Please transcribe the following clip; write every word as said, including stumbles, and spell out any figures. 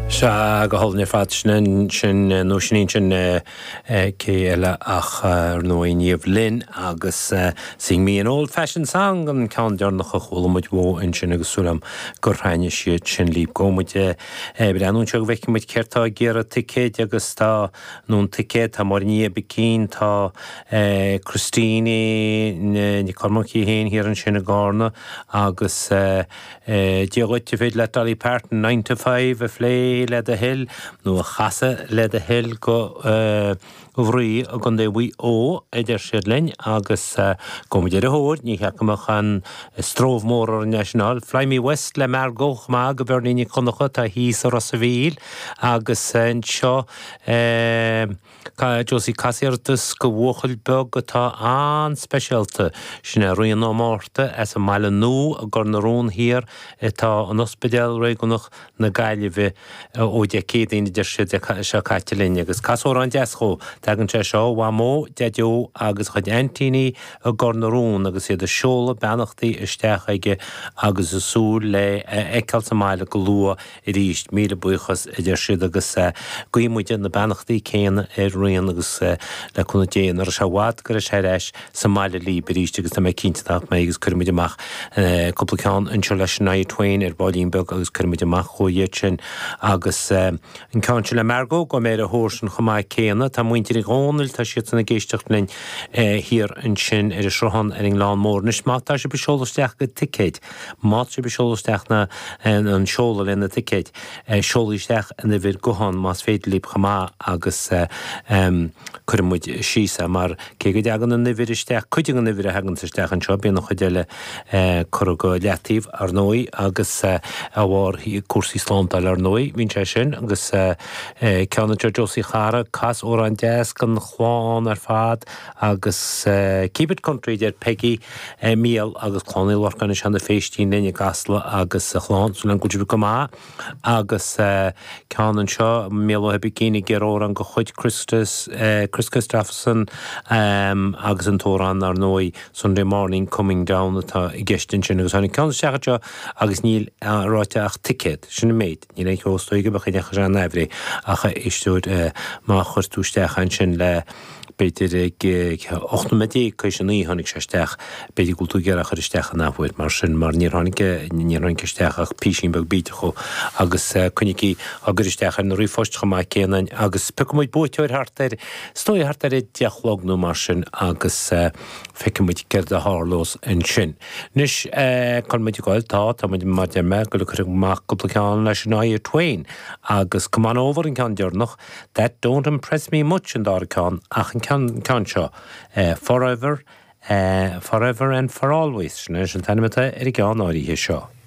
Sea, go hálainn ar fad sin sin nó sin sin cé eile ach ar ndóigh Niamh Lynn agus Sing Me an Old Fashioned Song an ceann deireanach a chuala muid uaithi ansin agus súil agam gur thaitnigh siad sin libh. Gabhfaidh muid breathnú anseo go bhfeicfidh muid céard tá ag iarraidh ticéid agus tá nó an ticéad tá Máire Ní Bicín tá Christine Nic Cormaic féin thiar ansin i gCarna agus Dia dhuit an féidir le Dolly Parton nine to five a phlé le do thoil nó a chasadh le do thoil go bhrí a gcontae Mhaigh Eo a deir siad linn agus gabhfaidh muid ar a thóir ní cheapaim an stró mór ar an National Fly Me West le Margot chomh maith go Bernie Nic Choncha tá thíos i Ros an Mhíl agus anseo Josie cas iarratas go bhuachaill beag atá an-speisialta sin é Rian Ó Márta as an mBaile Nua i gCor na Rón Thiar atá in Ospidéal Réigiúnach na Gaillimhe ó Dé Céadaoin a deir siad seo caite linn agus cas amhrán deas dhó. Tagann sé seo ó Mhamó, Deaideo agus a chuid aintíní i gCor na Rón agus iad ag seoladh beannachtaí isteach aige agus ag súil le é a fheiceáil sa mbaile go luath arís. Míle buíochas a deir siad agus guíonn muide na beannachtaí céanna ar Rian agus le cúnamh Dé nach raibh sé i bhfad go raibh sé ar ais sa mbaile libh arís agus tá mé cinnte nach mbeidh agus cuirfidh muid amach cúpla ceann anseo le Shania Twain ar baillín beag agus cuirfidh muid amach chugaibh iad sin agus an ceann seo le Margot gabhfaidh mé ar a thóir sin chomh maith céanna. Tá muintir Uí Dhónaill, tá siadsan ag éisteacht linn thiar ansin ar an Sruthán ar an nGleann Mór. Anois má tá sibh ag seoladh isteach go ticéid, má tá sibh ag seoladh isteach na an seoladh le na ticéid, seolaigí isteach an uimhir gutháin más féidir libh chomh maith agus cuirfidh muid síos é mar cé go dtagann an uimhir isteach, cuid den uimhir a thaganns isteach anseo, bíonn an chuid eile curtha go leataobh ar ndóigh agus a bharr cúrsaí slándála ar ndóigh, bíonn sé sin agus ceann anseo Josie Chara, cas amhrán deas don chlann ar fad agus keep it country deir Peggy Micheál agus Clann Uí Lorcáin i Seanadh Phéistín linn i gCasla agus a chlann súil agam go bhfuil sibh go maith agus ceann anseo Mícheál Ó hOibicín ag iarraidh amhrán de chuid Christus Kris Kristofferson agus an t-amhrán ar ndóigh Sunday Morning Coming Down atá i gceist ansin agus tháinig ceann isteach anseo agus níl ráite ach ticéad sin an méid níl aon cheo is dóigh go mbeadh aon sé an aimhréidh ach éisteoir má chuir tú isteach ansin le b'fhéidir ag ocht nóiméad déag tar éis a naoi tháinig sé isteach b'fhéidir go bhfuil tú ag iarraidh chur isteach an athuair mar sin mar níor tháinig níor tháinig isteach ach písín beag bídeach ó agus coinnígí á gcur isteach ar na ríomhphoist chomh maith céanna agus piocfaidh muid buaiteoir thart ar is dóigh thart ar a deich a chlog nó mar sin agus feicfidh muid céard a tharlós ansin. Anois cá bhfuil muid ag goil tá tá muid mar deir mé ag goil ag cur amach cúpla ceann le Shania Twain agus Come On Over an ceann deireanach That Don't Impress Me Much an dara ceann ach an ceann ceann seo Forever uh, Forever and For Always sin é an t-ainm atá ar an gceann áirithe seo.